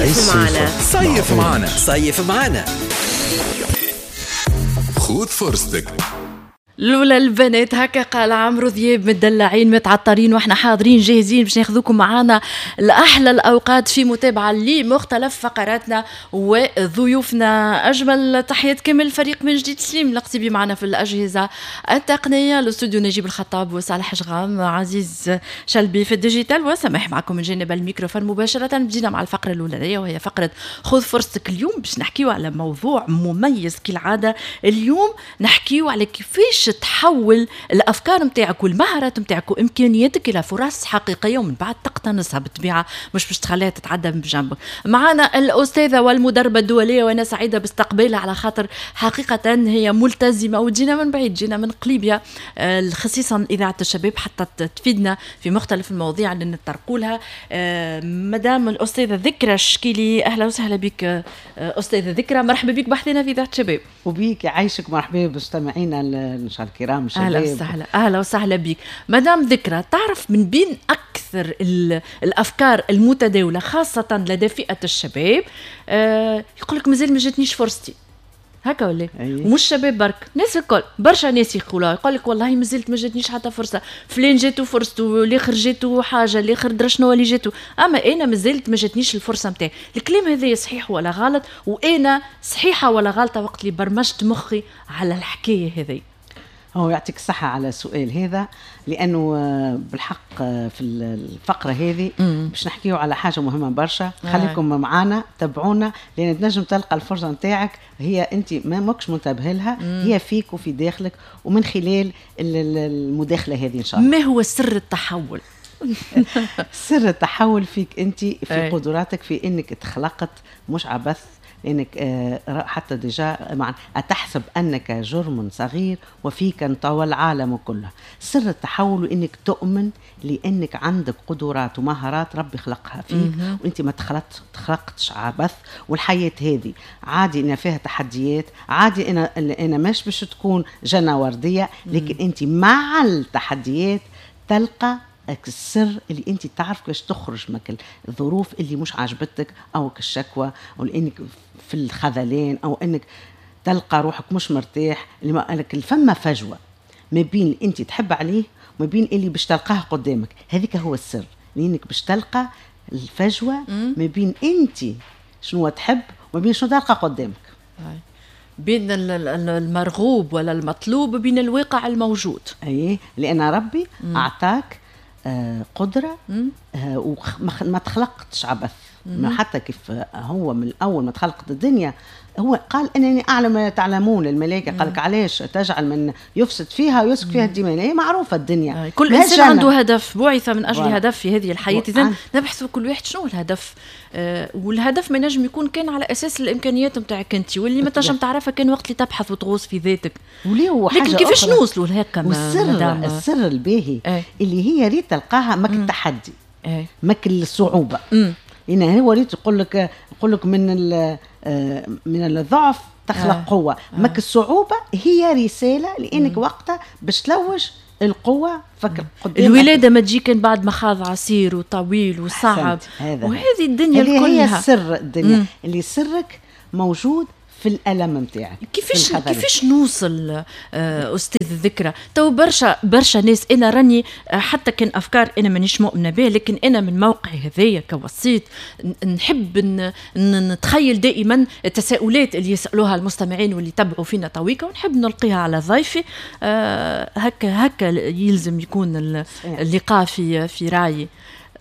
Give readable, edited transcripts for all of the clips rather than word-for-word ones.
صيف معنا، صيف معنا، صيف معنا، خذ فرصتك. لولا البنات هكا قال عمرو ذياب، مدلعين متعطرين واحنا حاضرين جاهزين باش ناخذوكم معانا لاحلى الاوقات في متابعه لمختلف فقراتنا وضيوفنا. اجمل تحيات كامل الفريق من جديد، سليم القصيبي معنا في الاجهزة التقنيه، الاستوديو نجيب الخطاب وصالح جغام، عزيز شلبي في ال digital، وسماح معكم من جانب الميكروفون مباشره. بدينا مع الفقرة الاولانية وهي فقره خذ فرصتك. اليوم باش نحكيو على موضوع مميز كالعاده. اليوم نحكيو على كيفاش تحول الافكار نتاعك والمهارات نتاعك وامكانياتك الى فرص حقيقية ومن بعد تقتنصها بالطبيعه، مش باش تخليها تتعدى من بجنبك. معنا الاستاذة والمدربه الدولية وانا سعيدة باستقبالها على خاطر حقيقة هي ملتزمة وجينا من بعيد، جينا من قليبيا خصيصا اذاعة الشباب حتى تفيدنا في مختلف المواضيع اللي نتطرقوا لها. مدام الاستاذة ذكرى الشكيلي، اهلا وسهلا بك استاذه ذكرى، مرحبا بك بحثنا في اذاعة الشباب. وبيك يعيشك، مرحبا بمستمعينا ان شاء الله الكرام الشباب. اهلا وسهلا، اهلا وسهلا بك مدام ذكرى. تعرف من بين اكثر الافكار المتداولة خاصة لدى فئة الشباب يقول لك مازال ما جاتنيش فرصتي، هكا ولا؟ ومش شباب برك، ناس الكل، برشا ناس يقولوا، يقول لك والله مازلت ما جاتنيش حتى فرصة، فلان جاتو فرصته، الاخر جاتو حاجة، الاخر درا شنو اللي جاتو، اما انا مازلت ما جاتنيش الفرصة نتاعي. الكلام هذا صحيح ولا غلط؟ وانا صحيحه ولا غلطه وقت اللي برمجت مخي على الحكاية هذه؟ هو يعطيك الصحة على السؤال هذا، لأنه بالحق في الفقرة هذه باش نحكيو على حاجة مهمة برشا. خليكم معانا، تابعونا، لأن تنجم تلقى الفرصة نتاعك هي أنت ما ماكش منتبه لها، هي فيك وفي داخلك ومن خلال المداخلة هذه إن شاء الله. ما هو سر التحول؟ سر التحول فيك أنت، في قدراتك، في أنك تخلقت مش عبث، لانك حتى déjà مع اتحسب انك جرم صغير وفيك انطوى العالم كله. سر التحول انك تؤمن لانك عندك قدرات ومهارات ربي خلقها فيك، وانت ما تخلقتش عبث. والحياة هذه عادي ان فيها تحديات، عادي ان انا مش باش تكون جنة وردية، لكن انت مع التحديات تلقى السر اللي انت تعرف كيفاش تخرج من الظروف اللي مش عاجبتك، او الشكوى، او انك في الخذلان، او انك تلقى روحك مش مرتاح. اللي فما فجوة ما بين اللي انت تحب عليه وما بين اللي باش تلقاه قدامك. هذيك هو السر، لانك باش تلقى الفجوة ما بين انت شنو تحب وما بين شنو تلقى قدامك، بين المرغوب ولا المطلوب وبين الواقع الموجود. اي، لان ربي اعطاك قدرة وما تخلقتش عبث. حتى كيف هو من الأول ما تخلقت الدنيا هو قال أنني أعلم ما تعلمون للملائكة. قال لك علاش تجعل من يفسد فيها ويسفك فيها الدماء؟ هي معروفة الدنيا، كل إنسان عنده هدف، بعث من أجل هدف في هذه الحياة. إذا نبحث كل واحد شنو الهدف، والهدف ما ينجم يكون كان على أساس الإمكانيات نتاعك أنت، واللي ما تنجم تعرفها كان وقت اللي تبحث وتغوص في ذاتك. لكن كيفاش نوصلوا لهكا؟ والسر السر الباهي اللي هي ريت تلقاها ماك التحدي، ماك الصعوبة. لأن هو ريت يقول لك من الضعف تخلق قوة. ماك الصعوبة هي رسالة، لأنك وقتها باش تلوج القوة. فكر قدامك. الولادة ما تجي كان بعد مخاض عسير وطويل وصعب، وهذه الدنيا كلها هي سر الدنيا. اللي سرك موجود في الألم نتاعك. كيفاش نوصل أستاذ ذكرى؟ تو برشا ناس، أنا راني حتى كان أفكار أنا مانيش مؤمنة بها، لكن أنا من موقعي هذايا كوسيط نحب نتخيل دائما التساؤلات اللي يسألوها المستمعين واللي تبعوا فينا طويقة، ونحب نلقيها على ضيفي. هكا يلزم يكون اللقاء في رأيي.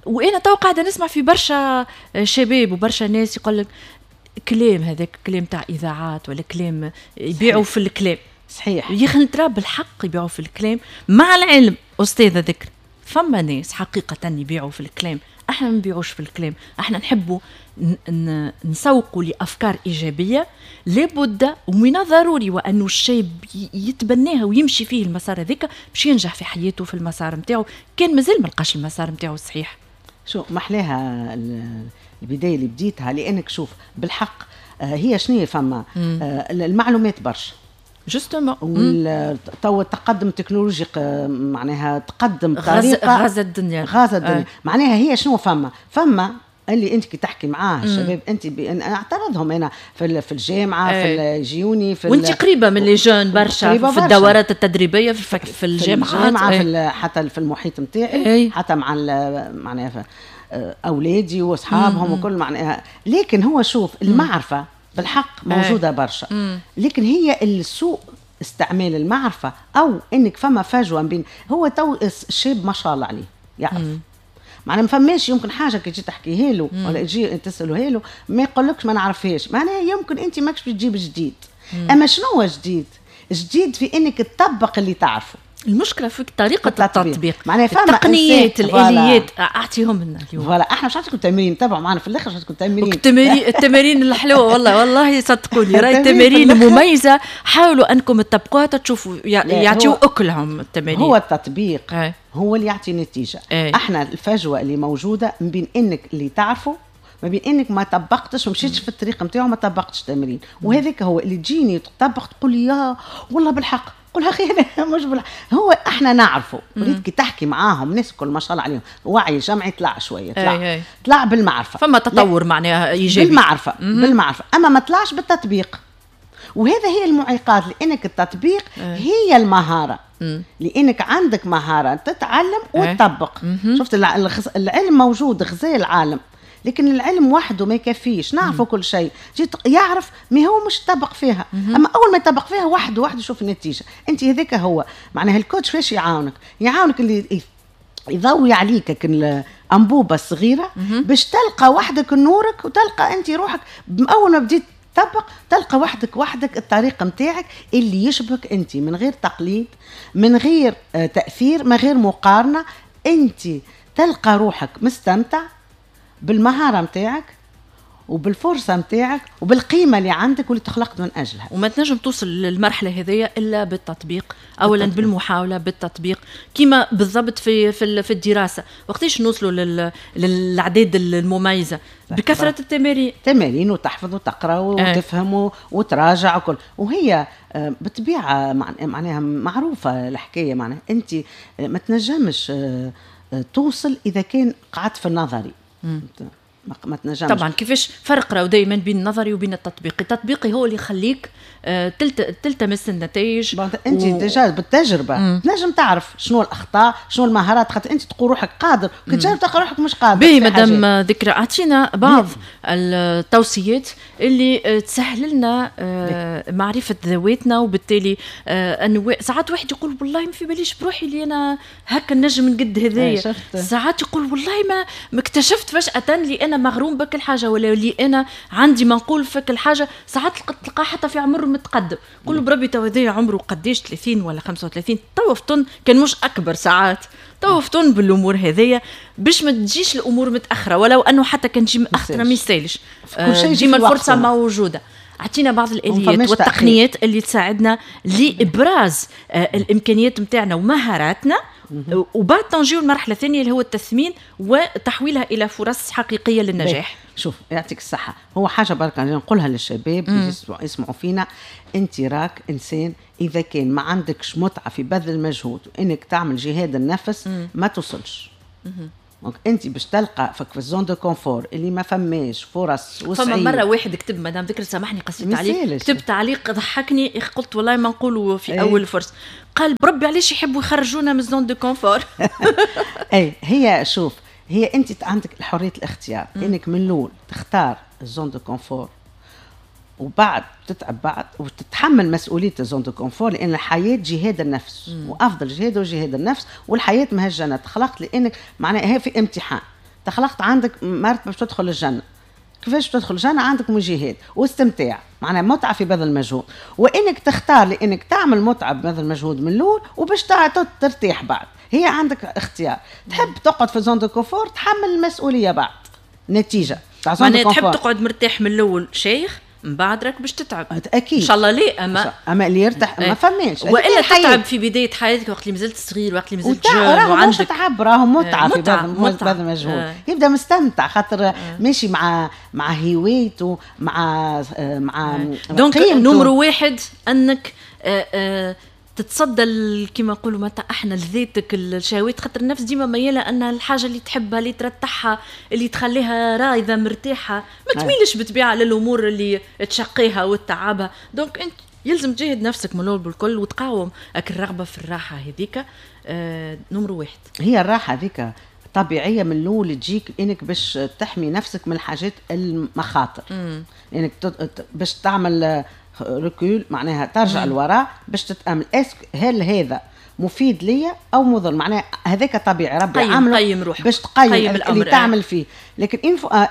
وأنا تو قاعدة نسمع في برشا شباب وبرشا ناس يقول لك كلام، هذاك كلام تاع اذاعات ولا كلام يبيعوا في الكلام. صحيح يا اخي ترى بالحق يبيعوا في الكلام. مع العلم استاذه ذكر فما ناس حقيقة يبيعوا في الكلام، احنا ما نبيعوش في الكلام، احنا نحبوا نسوقوا لافكار ايجابية. لابد ومن الضروري وانه الشاب يتبناها ويمشي فيه المسار هذاك باش ينجح في حياته في المسار نتاعو، كان مازال ما لقاش المسار نتاعو الصحيح. شو محلاها البداية اللي بديتها، لانك شوف بالحق هي شنو فما المعلومات برشا justement. تو التقدم التكنولوجي معناها تقدم بطريقة غزا الدنيا، غزا الدنيا. معناها هي شنو فما اللي انت كي تحكي معاه الشباب انت انا اعترضهم انا في الجامعة، في الجيوني، في وانت قريبه من les jeunes برشا في الدورات التدريبية، في الجامعات، في حتى في المحيط نتاعي، حتى مع معناها اولادي واصحابهم وكل معناها. لكن هو شوف المعرفة بالحق موجودة برشا، لكن هي السوء استعمال المعرفة، او انك فما فجوة بين هو تو الشاب ما شاء الله عليه يعرف، معناها ما فماش يمكن حاجة كي تجي تحكيها له ولا تجي تساله له ما يقولكش ما نعرفهاش، معناها يمكن انت ماكش تجيب جديد. اما شنو هو جديد؟ جديد في انك تطبق اللي تعرفه. المشكلة في طريقه التطبيق، معناها فما التقنيات، الاليات، اعطيهم لنا اليوم. voilà احنا مش نعطيكم تمرين، تابعوا معنا في الاخر نعطيكم تمرين. التمارين الحلوة والله والله صدقوني راهي التمارين مميزة، حاولوا انكم تطبقوها تشوفوا يعطيو اكلهم التمارين. هو التطبيق هو اللي يعطي نتيجة. احنا الفجوة اللي موجودة ما بين انك اللي تعرفه، ما بين انك ما طبقتش ومشيتش في الطريق نتاعو، ما طبقتش تمرين. وهذاك هو اللي تجيني تطبق تقول لي يا والله بالحق، قول اخي انا مش بالحق. هو احنا نعرفه، وليد كي تحكي معاهم الناس الكل ما شاء الله عليهم وعي جمعي طلع شوية، طلع بالمعرفة، فما تطور معناها ايجابي بالمعرفة، بالمعرفة، اما ما طلعش بالتطبيق. وهذا هي المعيقات، لانك التطبيق هي المهارة، لانك عندك مهارة تتعلم وتطبق. شفت العلم موجود غزال العالم، لكن العلم وحده ما يكفيش. نعرفه كل شيء، جيت يعرف ما هو مش طبق فيها. اما اول ما يطبق فيها وحده وحده يشوف النتيجة. انت هذاك هو معناها ال coach فاش يعاونك؟ يعاونك اللي يضوي عليك الانبوبة الصغيرة باش تلقى وحدك نورك، وتلقى انت روحك اول ما بديت تطبق تلقى وحدك الطريقة نتاعك اللي يشبهك انت، من غير تقليد، من غير تاثير، من غير مقارنة. انت تلقى روحك مستمتع بالمهارة متاعك وبالفرصة متاعك وبالقيمة اللي عندك واللي تخلقت من أجلها. وما تنجم توصل للمرحلة هذية إلا بالتطبيق، أولا بالمحاولة، بالتطبيق، كما بالضبط في الدراسة. وقتاش نوصلوا للأعداد المميزة؟ بكثرة التمارين، تمارين وتحفظ وتقرأ وتفهم وتراجع وكل. وهي بطبيعة معناها معروفة الحكاية، معناها أنت ما تنجمش توصل إذا كان قعدت في النظري. ما تنجمش. طبعا كيفاش فرق راهو دائما بين النظري وبين التطبيقي؟ التطبيقي هو اللي يخليك تلتمس النتائج. انت déjà بالتجربة تنجم تعرف شنو الاخطاء، شنو المهارات، خاطر انت تقول روحك قادر، كي تجرب تلقى روحك مش قادر. باهي مدام ذكرى، اعطينا بعض التوصيات اللي تسهل لنا معرفة ذواتنا، وبالتالي انه ساعات واحد يقول والله ما في باليش بروحي اللي انا هكا نجم نقد هذايا، ساعات يقول والله ما اكتشفت فجاة اللي انا مغروم بك الحاجة، ولا اللي انا عندي منقول فك الحاجة. ساعات تلقاه حتى في عمره متقدم، قول بربي تو هذايا عمره قداش، 30 ولا 35، تو فطن كان مش اكبر، ساعات تو فطن بالامور هذيا باش ما تجيش الامور متاخرة، ولو انه حتى كان تجي متاخرة ما يسالش، ديما الفرصة موجودة. اعطينا بعض الاليات والتقنيات اللي تساعدنا لابراز الامكانيات نتاعنا ومهاراتنا، وبعد تنجيو المرحلة الثانية اللي هو التثمين وتحويلها الى فرص حقيقية للنجاح. شوف يعطيك الصحة، هو حاجة بركة نقولها للشباب اللي يسمعوا فينا، انت راك انسان اذا كان ما عندكش متعه في بذل المجهود وانك تعمل جهاد النفس ما توصلش. donc انت باش تلقى في ال zone de confort اللي ما فماش فرص وسعيد. فما مرة واحد كتب، مدام ذكر سامحني قصيت عليك، كتب تعليق ضحكني، قلت والله ما نقولوا في اول فرصة، قال بربي علاش يحبوا يخرجونا من ال zone de confort. اي هي شوف، هي انت عندك حرية الاختيار، انك من الاول تختار ال zone de confort وبعد تتعب بعد وتتحمل مسؤولية ال zone de confort، لان الحياة جهاد النفس، وافضل جهاد هو جهاد النفس، والحياة مهجنه. تخلقت لانك معناها هي في امتحان، تخلقت عندك مرتبه باش تدخل الجنة. كيفاش تدخل الجنة؟ عندك مجاهد واستمتاع، معناها متعه في بذل المجهود، وانك تختار لانك تعمل متعه ببذل المجهود من الاول وباش ترتاح بعد. هي عندك اختيار، تحب تقعد في zone de confort تحمل المسؤولية بعد نتيجة. معناها تحب تقعد مرتاح من الاول شيخ، من بعد راك باش تتعب اكيد ان شاء الله. ليه اما اللي يرتاح ما فماش، والا تتعب في بداية حياتك وقت اللي مازلت صغير، وقت اللي مازلت jeune، وعندك مش تعب، راهو متعه في بذل المجهود، يبدا مستمتع خاطر ماشي مع هوايته، مع donc numéro واحد انك تتصدى كما نقولوا متى احنا لذاتك الشهوات، خاطر النفس ديما مياله ان الحاجة اللي تحبها، اللي ترتاحها، اللي تخليها رايضه مرتاحه، ما تميلش بالطبيعة للامور اللي تشقيها وتعبها. donc انت يلزم تجاهد نفسك من الاول بالكل وتقاوم الرغبة في الراحة هذيك. نمر واحد. هي الراحة هذيك طبيعية من الاول تجيك، انك باش تحمي نفسك من الحاجات المخاطر، انك باش تعمل recul، معناها ترجع لوراء باش تتامل est-ce que هل هذا مفيد ليا او مضر. معناها هذاك طبيعي ربي عامله قيم روحك. باش تقيم قيم الأمر اللي تعمل فيه. لكن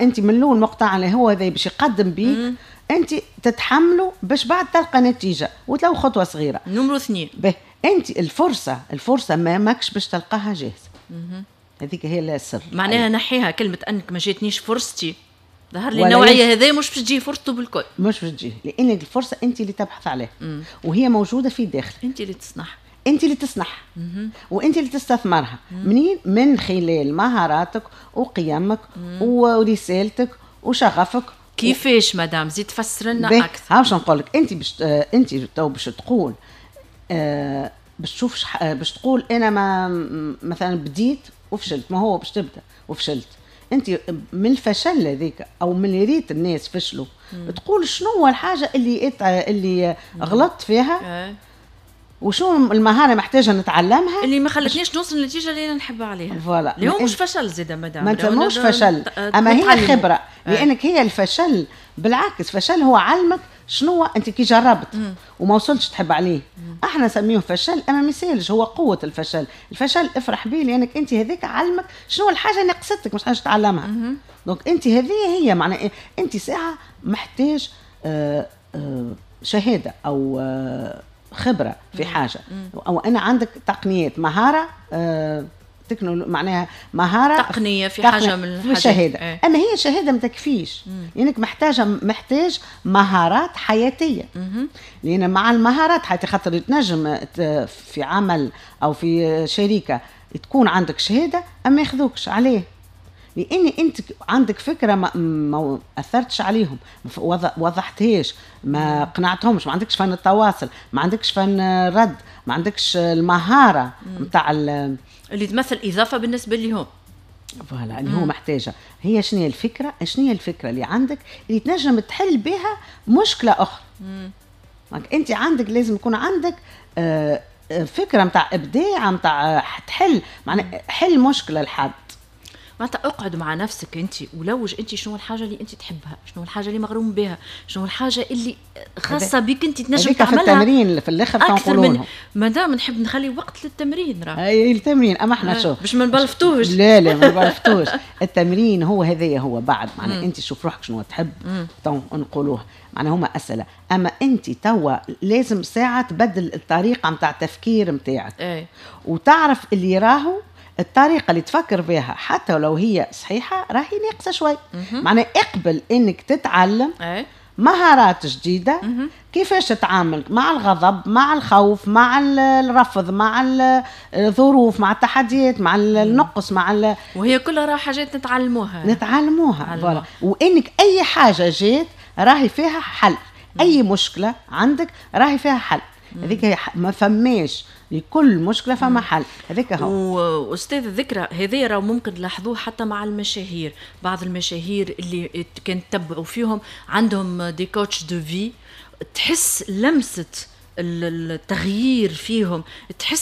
انت من الاول مقتنع اللي هو هذا باش يقدم بيك، انت تتحمله باش بعد تلقى نتيجة وتلو خطوة صغيره. نمرو اثنين. به انت الفرصه ما ماكش باش تلقاها جاهزه، هذيك هي السر. معناها نحيها كلمة انك ما جاتنيش فرصتي. ظهر لي النوعية هذه مش باش تجي فرصته بالكل. مش باش تجي، لان الفرصة انت اللي تبحث عليها وهي موجودة في داخلك. انت اللي تصنعها. انت اللي تصنعها وانت اللي تستثمرها. منين؟ من خلال مهاراتك وقيمك ورسالتك وشغفك. كيفاش مدام؟ زيد تفسر لنا اكثر. ها باش نقول لك، انت تو باش تقول باش تشوف، باش تقول انا ما مثلا بديت وفشلت. ما هو باش تبدا وفشلت، انت من الفشل هذيك او من اللي ريت الناس فشلوا تقول شنو هو الحاجة اللي غلطت فيها وشو المهارة محتاجه نتعلمها اللي ما خلتنيش نوصل للنتيجة اللي انا نحب عليها. voilà. اللي هو مش فشل زيد مدام. ما تسموش فشل، اما هي خبره، لانك هي الفشل بالعكس، فشل هو علمك شنو انت كي جربت وما وصلتش تحب عليه. احنا نسميه فشل، اما ما يسالش، هو قوة الفشل. الفشل افرح به، لانك انت هذاك علمك شنو الحاجة اللي نقصتك مش حاجة تتعلمها. donc انت هذه هي معناها انت ساعة محتاج شهادة او خبره في حاجه، او انا عندك تقنيات، مهارة معناها مهارة تقنية في حاجة من الحاجات، شهاده ايه. اما هي شهادة ما تكفيش، لانك محتاج مهارات حياتيه. لان مع المهارات حياتيه، خاطر تنجم في عمل او في شركة تكون عندك شهادة اما ياخذوكش عليه، لان انت عندك فكرة ما اثرتش عليهم، ما وضحتهاش، ما قنعتهمش، ما عندكش فن التواصل، ما عندكش فن الرد، ما عندكش المهارة نتاع اللي تمثل اضافه بالنسبة لهم. voilà، اللي هو محتاجه. هي شنو هي الفكره؟ شنو هي الفكرة اللي عندك اللي تنجم تحل بها مشكلة اخرى؟ انت عندك لازم يكون عندك فكرة نتاع ابداع نتاع تحل، معناها حل مشكلة لحد. معناتها اقعد مع نفسك انت ولوج انت شنو الحاجة اللي انت تحبها، شنو الحاجة اللي مغروم بها، شنو الحاجة اللي خاصة بك انت تنجم تعملها. في التمرين في الاخر. اكثر من مادام نحب نخلي وقت للتمرين راه. اي التمرين، اما احنا شو باش ما نبلفتوش. لا لا، ما نبلفتوش. التمرين هو هذايا، هو بعد معناها انت شوف روحك شنو تحب، نقولوها معناها هما اسئله. اما انت توا لازم ساعة تبدل الطريقة نتاع التفكير نتاعك وتعرف اللي راهو الطريقة اللي تفكر بها حتى لو هي صحيحه راهي ناقصه شوي. معناها اقبل انك تتعلم مهارات جديده، كيفاش تتعامل مع الغضب، مع الخوف، مع الرفض، مع الظروف، مع التحديات، مع النقص، مع وهي كلها راه حاجات نتعلموها. نتعلموها، voilà. وانك اي حاجة جات راهي فيها حل، اي مشكلة عندك راهي فيها حل. هذيك ما فماش، لكل مشكلة فما حل، هذاك هو. واستاذ ذكرى، هذا راه ممكن تلاحظوه حتى مع المشاهير، بعض المشاهير اللي كان تتبعوا فيهم عندهم des coachs de vie، تحس لمسه التغيير فيهم، تحس.